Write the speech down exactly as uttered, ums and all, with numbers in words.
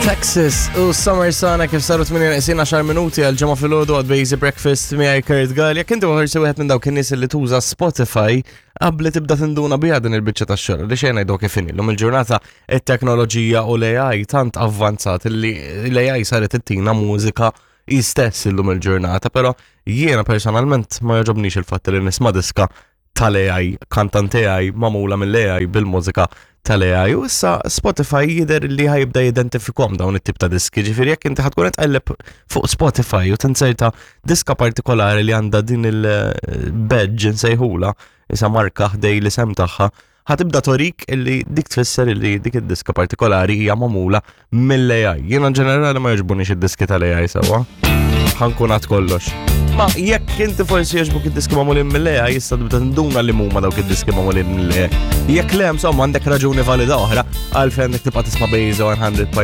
Texas u Summer Sana kif saru tmienja neqsin għaxar minuti għal ġimgħa filgħodu għad Bejzi Breakfast miegħi Kurt Gall. Jekk inti forsi wieħed minn dawk in-nies li tuża Spotify qabli tibda tinduna biha din il-biċċa tax-xogħol li xejn ngħidu kif inhi. Illum il-ġurnata it-teknoloġija u l-A I tant avvanzat li l-A I saret ittina mużika stess illum il-ġurnata, però jiena personalment ma jogħġobnix il-fatt li nisma' diska tal-A I, kantant A I magħmula mill-A I bil-mużika tal-A I. U issa Spotify jidher li ħa jibda jidentifikahom dawn it-tip ta' diski. Ġifieri jekk inti ħa tkun tqelleb fuq Spotify u tinserta diska partikolari li għandha din il-badge nsejħula, isa marka ħdejn l-isem tagħha, ħa tibda torik illi dik tfisser illi dik id-diska partikolari hija magħmula mill-A I. Jiena ġenerali ma jogħġbunix id-diski tal-A I sewwa. Ħa nkun għad kollox. Ma jekk inti forsi jogħġbuk id-diski magħmulin mill-A I, issa tibda tinduna li huma dawk id-diski magħmulin mill-A I. Jekk le, insomma, għandek raġuni valida oħra għalfejn għandek tibqa' tisma' Bejza mija punt